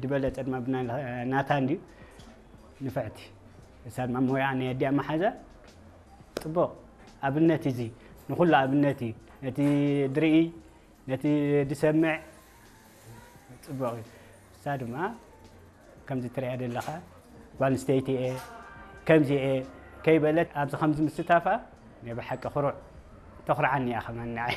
ዝበለጸ ድማ ብናይ ናታ እንድዩ ንፍዕቲ። እሳ ድማ ሞያ ናይ ኣዲኣ መሓዛ ጽቡቕ ኣብነት እዩ። እዚ ንኹሉ ኣብነት እዩ። ነቲ ድርኢ፣ ነቲ ድሰምዕ ጽቡቕ እዩ። እሳ ድማ ከምዚ ትሪኣ ዘለኻ ጓል ኣንስተይቲ እየ፣ ከምዚ እየ ከይበለት ኣብዚ ከምዚ ምስታፋ ናይ ብሓቂ ኩሩዕ ተኹርዓኒ እያ ከማን ንዓይ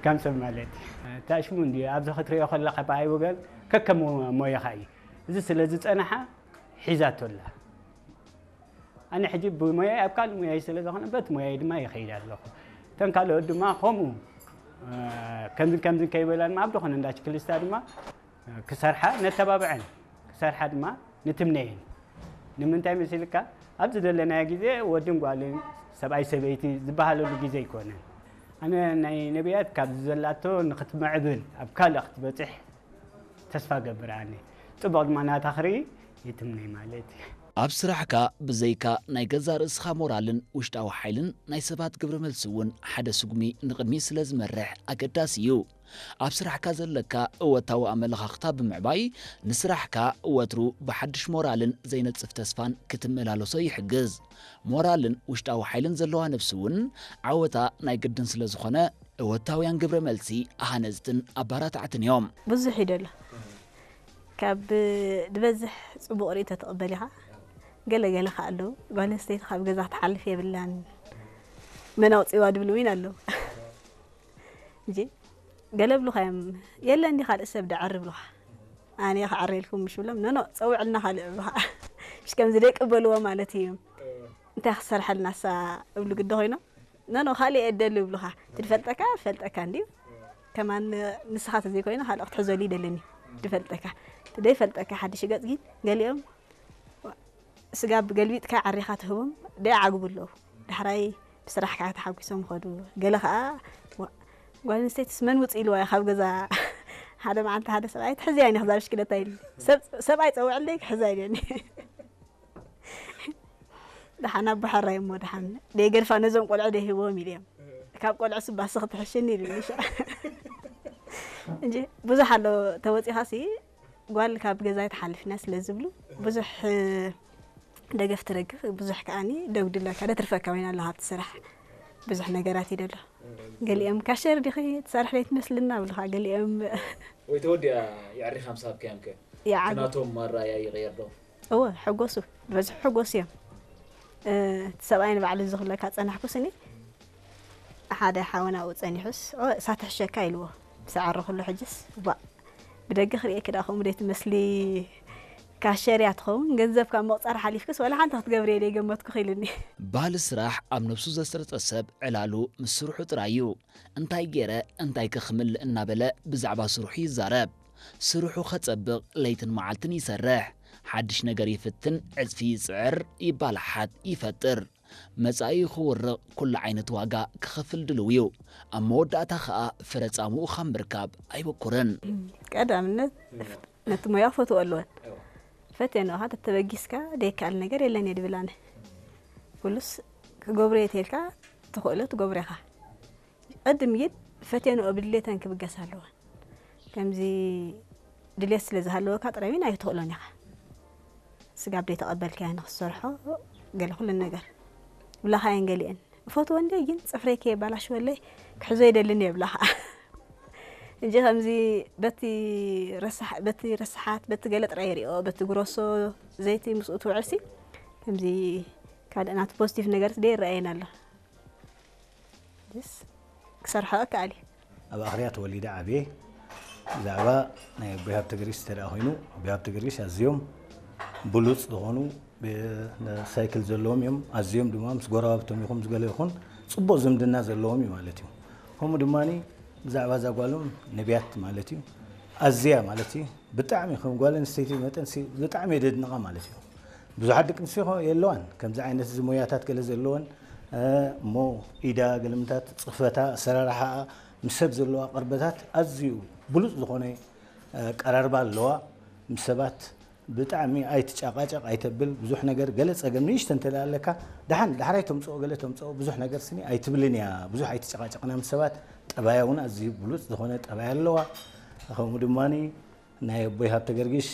ከም ሰብ ማለት እዩ። እታ ሽሙ እንድዩ ኣብዚ ክትሪኦ ከለኻ ብኣይ ወገን ከከም ሞያኻ እዩ። እዚ ስለ ዝጸንሓ ሒዛቶ ኣላ። ኣነ ሕጂ ብሞያይ ኣብ ካልእ ሞያይ ስለ ዝኾነ በቲ ሞያይ ድማ ይኸይድ ኣለኹ። እተን ካልኦት ድማ ከምኡ እ፣ ከምዝን ከምዝን ከይበላ ድማ ኣብ ዝኾነ እንዳ ችክሊስታ ድማ ክሰርሓ ነተባብዐን፣ ክሰርሓ ድማ ንትምነየን። ንምንታይ መሲልካ ኣብዚ ዘለናዮ ግዜ ወድን ጓልን ሰብኣይ ሰበይቲ ዝበሃለሉ ግዜ ኣይኮነን። ኣነ ናይ ነቢያት ካብዚ ዘላቶ ንክትምዕብል ኣብ ካልእ ክትበፅሕ ተስፋ ገብር ኣነ። ፅቡቕ ድማ ናታ ክርኢ ይትምነይ ማለት እዩ። ኣብ ስራሕካ ብዘይካ ናይ ገዛእ ርእስኻ ሞራልን ውሽጣዊ ሓይልን ናይ ሰባት ግብረ መልሲ እውን ሓደ ስጉሚ ንቕድሚት ስለ ዝመርሕ ኣገዳሲ እዩ። ኣብ ስራሕካ ዘለካ እወታዊ ኣመለኻኽታ ብምዕባይ ንስራሕካ ወትሩ ብሓድሽ ሞራልን ዘይነጽፍ ተስፋን ክትመላለሶ ይሕግዝ። ሞራልን ውሽጣዊ ሓይልን ዘለዋ ነብሲ እውን ዓወታ ናይ ግድን ስለ ዝኾነ እወታውያን ግብረ መልሲ ሃነጽትን ኣባራታዕትን እዮም። ብዙሕ እዩ ደሎ። ካብ ዝበዝሕ ጽቡቕ ርእይቶ ትቕበል ኢኻ። ገለ ገለ ከኣ ኣለዉ። ጓል ኣንስተይቲ ካብ ገዛ ክትሓልፍ የብላን። መን ኣውጺዋ ድብሉ እውን ኣለዉ። እንጂ ገለ ብሉኻ እዮም። የለ እንዲ ካልእ ሰብ ደዐር ብሉኻ። ኣነ ክዓረልኩም ምሽ ብሎም፣ ኖ፣ ኖ፣ ጸውዕልና ካልእ ብሉኻ። ምሽ ከምዚ ደይቅበልዎ ማለት እዩ። እንታይ ክሰርሐልና እሳ እብሉ ግዲ ኮይኖም፣ ኖ፣ ኖ፣ ካልእ እየ እደሊ ብሉኻ። ትድፈልጠካ፣ ፈልጠካ እንድዩ። ከማን ንስኻ ተዘይኮይኑ ካልእ ክትሕዘሉ ይደልን እዩ። ድፈልጠካ። ትደይፈልጠካ ሓድሽ ገጽ ግን ገሊኦም ስጋብ ገልቢጥካ ዓሪኻ ትህቦም ደይዓግቡ ኣለዉ። ዳሕራይ ብስራሕካ ተሓጒሶም ይኸዱ። ገለ ኸኣ፣ "ዋ፣ ጓል ኣንስተይትስ መን ውጽእ ኢልዋ እዩ ካብ ገዛ?" ሓደ መዓልቲ ሓደ ሰብኣይ፣ "ትሕዝያ እየ ክዛ ብሽክለታ" ኢሉ። ሰብ-፣ ሰብኣይ ጸውዕለይ ክሕዛ ኢለኒ። ደሓን ኣቦ ሕራይ እሞ ደሓን ደይገድፋ ነዞም ቆልዑ ደይህብዎም ኢሉ እዮም። ካብ ቆልዑ ስባስ ክትሕሽኒ ኢሉኒ። እንጂ ብዙሕ ኣሎ ተወጺኻሲ ጓል ካብ ገዛ ኣይትሓልፍና ስለ ዝብሉ ብዙሕ ደገፍ ትረክብ፣ ብዙሕ ከኣኒ ደጉድለካ ደትርፈካ ወይና ኣሎ ሃብቲ ስራሕ ብዙሕ ነገራት ይደሎ። ገሊኦም ካሸር ዲኺ ትሰርሕ ዘይትመስልና ብልኻ፣ ገሊኦም ወይ ተወዲኣ የዕሪኻ ምስ ሃብካዮም ከ? ይዓግቡ። ናቶም ኣረኣእያ ይቕየር ዶ? እወ፣ ሕጎሱ፣ በዝሑ ሕጎሱ እዮም። እ፣ እቲ ሰብኣይ ንባዕሉ ዝኽለካ ጸናሕኩስ እኔ ሓደ ሓወና ኣብኡ ጸኒሑስ፣ "ኦ፣ እሳ ትሕሸካ" ኢልዎ። ምስ ዓረኹሉ ሕጅስ፣ "ቧእ፣ ብደገ ክርእየኪ ደኣ ከምኡ ደይ ትመስሊ፣ ካሸር እያ ትኸውን፣ ገንዘብ ካብ ምቑጻር ሓሊፍክስ ዋላ ሓንቲ ክትገብሪ እየ ደይ ገመትኩኺ" ኢሉኒ። ባህሊ ስራሕ ኣብ ነብሱ ዘስረጸ ሰብ ዕላሉ ምስ ስርሑ ጥራይ እዩ። እንታይ ገይረ እንታይ ከ ክምልእ እናበለ ብዛዕባ ስርሑ ይዛረብ። ስርሑ ከጸብቕ ለይትን መዓልትን ይሰርሕ። ሓድሽ ነገር ይፍትን፣ ዕጽፊ ይጽዕር፣ ይባላሓት፣ ይፈጥር። መጻኢኡ ክውርቕ ኩሉ ዓይነት ዋጋ ክኸፍል ድልው እዩ። ኣብ መወዳእታ ኸኣ ፍረ ጻምኡ ካብ ምርካብ ኣይበኩርን። ቀዳምነት ነቲ ሞያ ክፈትዎ ኣለወን። ፈትየንኦ ኸኣ ተተበጊስካ ደይከኣል ነገር የለን እየ ድብል ኣነ። ኩሉስ ክገብሮ እየ ተይልካ ትኽእሎ ትገብሮ ኢኻ። ቅድም ግን ፈትየንኦ ብድሌተን ክብገሳ ኣለወን። ከምዚ ድሌት ስለ ዝሃለወካ ጥራይ እውን ኣይትኽእሎን ኢኻ። ስጋብ ደይተቐበልካዮ ንኽትሰርሖ ገለ ኩለን ነገር ብላኻየን ገሊአን። እፈትዎ እንድየ ግን ጽፍረይ ከየባላሽወለይ ክሕዞ ይደልን እየ ብላኻ። እንጂ ከምዚ በቲ ረሳሕ-፣ በቲ ረሳሓት፣ በቲ ገለ ጥራይ ይሪኦ፣ በቲ ግሮሶ ዘይቲ ምስኡ ትውዕልሲ ከምዚ ካልእ ናቱ ፖዚቲቭ ነገር ደይረኣየን ኣሎ። ደስ ክሰርሖ እከኣል እየ። ኣብ ኣኽርያ ተወሊደ ዓብየ። ብዛዕባ ናይ ኣቦይ ሃብተ ገርጊስ እንተ ደኣ ኮይኑ፣ ኣቦይ ሃብተ ገርጊስ ኣዝዮም ብሉጽ ዝኾኑ ብ-፣ ሳይክል ዘለዎም እዮም። ኣዝዮም ድማ ምስ ጎረባብቶም ይኹን ምስ ገለ ይኹን ጽቡቕ ዝምድና ዘለዎም እዩ ማለት እዩ። ከምኡ ድማ ብዛዕባ እዛ ጓሎም ነቢያት ማለት እዩ ኣዝያ ማለት እዩ ብጣዕሚ ከም ጓል ኣንስተይቲ መጠን ሲ-፣ ብጣዕሚ እየ ደድንቓ ማለት እዩ። ብዙሓት ደቂ ኣንስትዮ የለዋን ከምዚ ዓይነት እዚ ሞያታት ገለ ዘለወን፣ እ፣ እሞ ኢዳ ገለምታት ጽፈታ ኣሰራርሓኣ ምስ ሰብ ዘለዋ ቅርበታት ኣዝዩ ብሉጽ ዝኾነ፣ እ፣ ቀራርባ ኣለዋ። ምስ ሰባት ብጣዕሚ ኣይትጫቃጨቅ ኣይተብል ብዙሕ ነገር ገለ ጸገም ንእሽተ እንተ ኣለካ ደሓን ዳሕራይ ተምጽኦ ገለ ተምጽኦ ብዙሕ ነገር ስኒ ኣይትብልን እያ። ብዙሕ ኣይትጨቃጨቅና ምስ ሰባት። ጠባያ እውን ኣዝዩ ብሉጽ ዝኾነ ጠባይ ኣለዋ። ከምኡ ድማ ናይ ኣቦይ ሃብተ ገርጊሽ